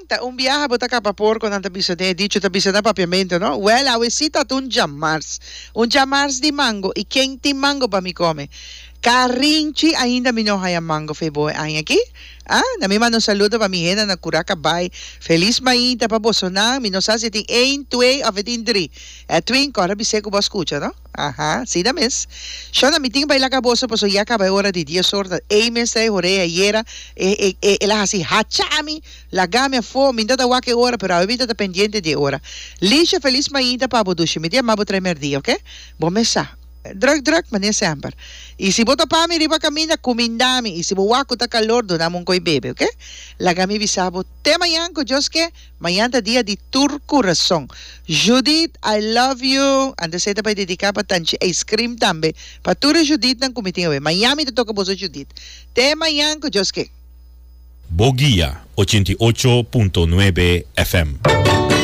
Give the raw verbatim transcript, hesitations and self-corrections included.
Ta un biaha bo ta kapa porko, nan ta bisa den e dicho, ta bisa na papiamento, no? Well, awe si ta un djamars. Un djamars di mango. I ken tin mango pa mi kome? Karinchi, ainda mi no haya mango fe bo aña aki. Ah, na mi manda un saludo pa mi hende na Curaca Bay. Feliz mainta pa bosonan. Mi no sa si tin un, dos of tin tres. Edwin, kòrda bis'é ku bo a skucha, no? Aha, si da mes. Shona, mi tin baila ka boso paso ya kaba e ora di dies or. Ei mes ta e horea ayera. E, e, e, el a hasi hachami. Lagami afó. Mi no ta wak e ora, pero awe mi ta pendiente di ora. Lisha, feliz mainta pa bo dushi. Mi ta yama bo tres merdia, ok? Bo mes sa. Druk, druk, manera semper. I si bo topa mi riba kaminda, kumindami. I si bo wak ku ta kalor, duna mi un koi bebe, ok? Laga mi bisa bo te mañan ku Dios ke. Mañan ta dia di tur kurason. Judith, I love you. Antes ta pa dediká pa tanchi ice cream tambe. Pa tur Judith nan ku mi tin awe. Mañan mi ta toka boso Judith. Te mañan ku Dios ke. Bo Guia ochenta i ocho punto nuebe F M.